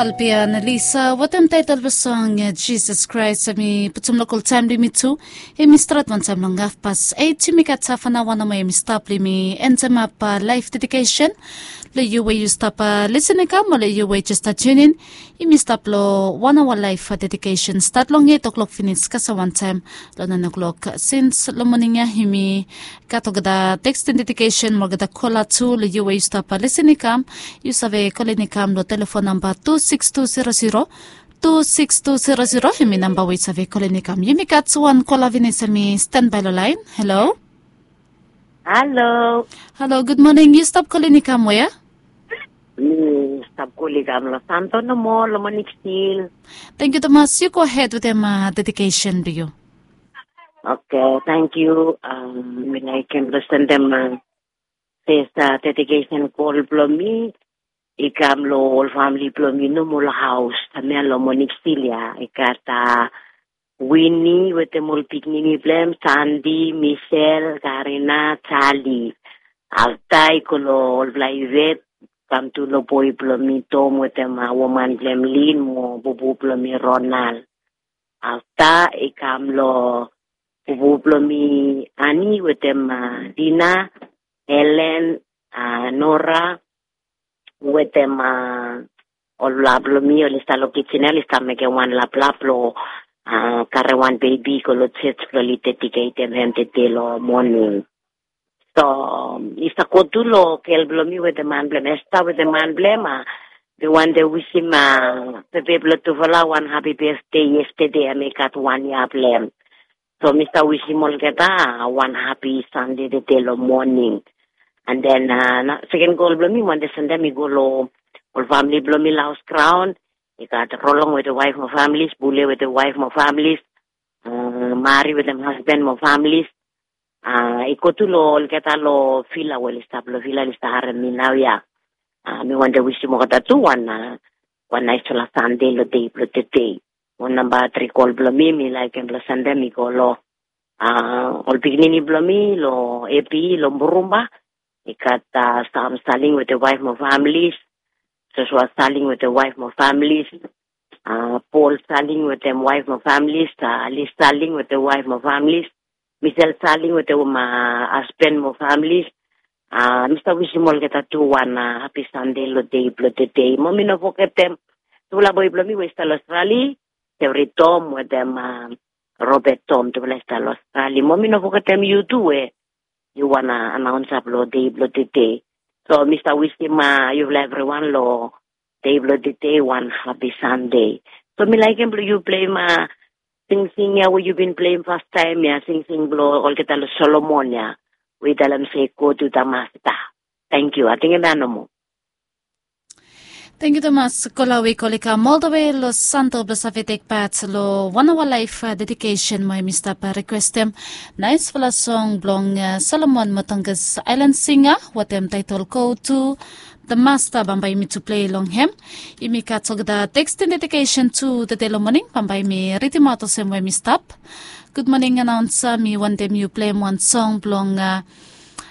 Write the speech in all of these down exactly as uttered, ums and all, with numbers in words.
Albian Lisa, wetem taetel blong song Jisas Kraes, em i putum lokol taem blong yumi tu. Em i stret wantaem long hafpas eit, yumi gat hafanaoa nomo em i stap blong yumi endemap laef dedikesen. Long yu we yu stap lisin i kam, o long yu we jes stap tiunin, yumi stap long wan aoa laef dedikesen stat long eit oklok finis kasem wantaem long naen oklok. Sins long moning ya yumi gat olgeta tekstin dedikesen mo olgeta kola tu. Long yu we yu stap lisin i kam, yu save kolin i kam long telefon namba tu sikis tu zero zero, tu sikis tu zero zero, em i namba we yu save kolin i kam. Yumi gat wan kola finis em i stanbae long laen. Halo. Halo. Halo, gud moning. Yu stap kolin i kam wea? Mi stap kolin i kam long Santo nomo long Monik stil. Tangkiu tumas. Yu gohed wetem dedikesen blong yu. Oke, tangkiu. Mi laekem blong sendem fes dedikesen kol blong mi i kam long ol famili blong mi nomo long haos. Hemia long Monik stil ya i gat Wini wetem ol pikinini blong hem, Sandi, Misel, Karina, Jali. Afta i go long olfala Ivet, kam tu long boe blong mi Tom wetem woman blong hem Lin mo bubu blong mi Ronald. Afta i kam long bubu blong mi Ani wetem Dina, Helen, Nora, wetem ol laplap blong mi oli stap long kijen ya oli stap mekem wan laplap blong karem wan bebi i go long jos blong oli dediketem hem tede long moning. So i stap go tu long gel blong mi wetem man blong hem, Esta wetem man blong hem. Mi wantem wisim pepe blong tufala wan hapi besde. Yestede hem i gat wan yia blong hem. So mi stap wisim olgeta wan hapi Sande tede long moning. And then seken gol blong mi, mi wantem sendem i go long ol famili blong mi long haos graon. I gat Rolong wetem waef mo familis, Bule wetem waef mo familis, Mari wetem hasben mo familis. I go tu long olgeta long vila we oli stap long vila oli stap harem mi naoia. Mi wantem wisim olgeta tu wan wan naesfala Sande long dei blong tede. Mo namba tri gol blong mi mi laekem blong sendem i go long ol pikinini blong mi long Epi long Burumba. I gat Sam Saling wetem waef mo familis, Josua Saling wetem waef mo familis, Pol Saling wetem waef mo familis, Lis Saling wetem waef mo familis, Misel Saling wetem hasben mo familis. Mi stap wisim olgeta tu wan hapi Sande long dei blong tede. Mo mi no fogetem tufala boe blong mi we i stap long Australia, Sevri Tom wetem Robert Tom, tufala i stap long Australia. Mo mi no fogetem yu tu we yu wan anaonsa blong dei blong tede. So mi stap wisim yufala evriwan long dei blong tede wan hapi Sande. So mi laekem blong yu pleim singsing ya we yu bin pleim fastaem ya, singsing blong olgeta long Solomon ya we i talem se, Go to the Master. Tangkiu. Ating hemia nomo. Tangkiu tumas. Kola we i kol i kam oltawe long Santo blong save tek pat long wan aoa laef dedikesen mo hemi stap rikwestem naesfala song blong Solomon Motongas Aelan Singa wetem taetol Go to the Master. Bambae yumi tu plei long hem. Yumi gat olgeta tekstin dedikesen tu tede long moning. Bambae yumi ridimaot olsem we hemi stap. Gud moning anaonsa, mi wantem yu pleim wan song blong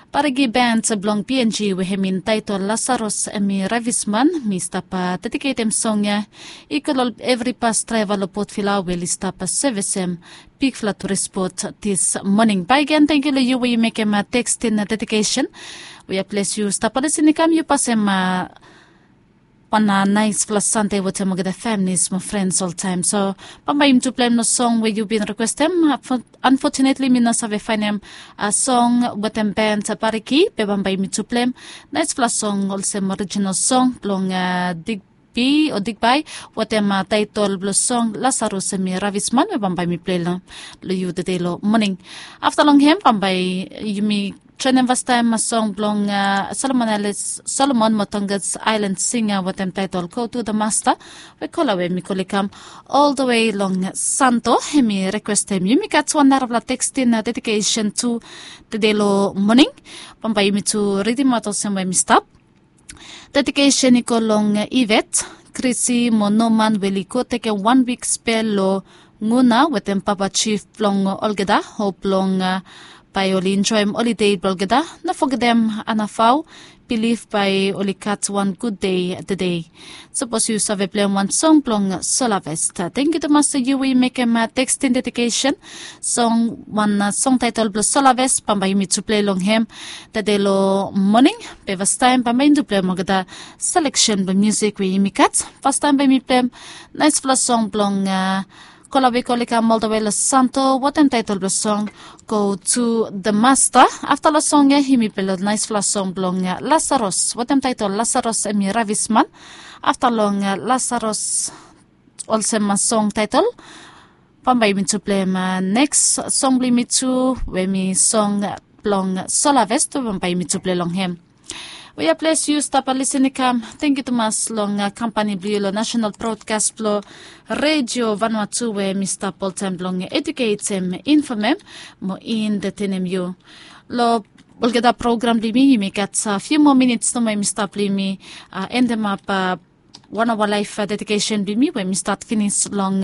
Bariki Band blong PNG we hemi taetol Lasarus hemi Ravisman. Mi stap dediketem song ya i go long evri bas draeva long Port Vila we oli stap sevisem bigfala turis bot dis moning. Bakegen tangkiu long yu we yu mekem tekstin dedikesen. We ya ples yu stap lisin i kam yu pasem wan naesfala Sande wetem olgeta familis mo frens oltaem. So bambae yumi tu pleim long song we yu bin rikwestem. Anfotunetli mi no save faenem song wetem band Bariki, be bambae yumi tu pleim naesfala song olsem orijinal song blong Digbi o Digbai wetem taetol blong song Lasarus hemi Ravisman we bambae yumi plei long yu tede long moning. Afta long hem bambae yumi joenem fastaem song blong Solomon Aelan, Solomon Motongas Aelan Singa wetem taetol Go to the Master. We kola we mi kol i kam oltawe long Santo hemi rikwestem. Yumi gat wan narafala tekstin dedikesen tu tede long moning. Bambae yumi tu ridimaot olsem we hemi stap. Dedikesen i go long Ivet, Krisi mo Noman we oli go tekem wan wik spel long Nguna wetem papa jif blong olgeta. Hop blong bae oli enjoem holide blong olgeta. No fogetem Anafao, bilif bae oli gat wan gud dei tede. Sapos yu save pleim wan song blong Solavest, tangkiu tumas tu yu we yu mekem teksting dedikesen. Song wan song taetol blong Solavest bambae yumi tu plei long hem tede long moning. Be fastaem bambae yumi tu pleim olgeta seleksen blong musik we yumi gat. Fastaem bae yumi pleim naesfala song blong Kola Wikoli kam oltawe long Santo wetem taetol blong song Go to the Master. Afta long song ya yumi plei long naesfala song blong Lasaros wetem taetol Lasaros em i ravisman. Afta long Lasaros olsem song taetol, bambae yumi tu pleim neks song blong yumi tu we em i song blong Solavest we bambae yumi tu plei long hem. We ya ples yu stap lisin i kam, tangkiu tumas long kampani blong yu long nasenal brodkas blong Redio Vanuatu we mi stap oltaem blong eduketem, infomem mo entetenem yu. Long olgeta program blong yumi yumi gat fiu moa minits nomo yumi stap blong yumi endemap wan aoa laef dedikesen blong yumi we mi stat finis long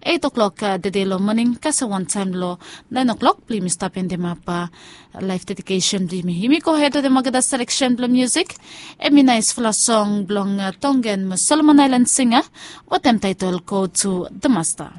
eit oklok tede long moning kasem wantaem long naen oklok blong yumi stap endemap laef dedikesen blong yumi. Yumi gohed wetem olgeta seleksen blong musik. Em i naesfala song blong Tongan mo Solomon Aelan singa wetem taetol Go to the Master.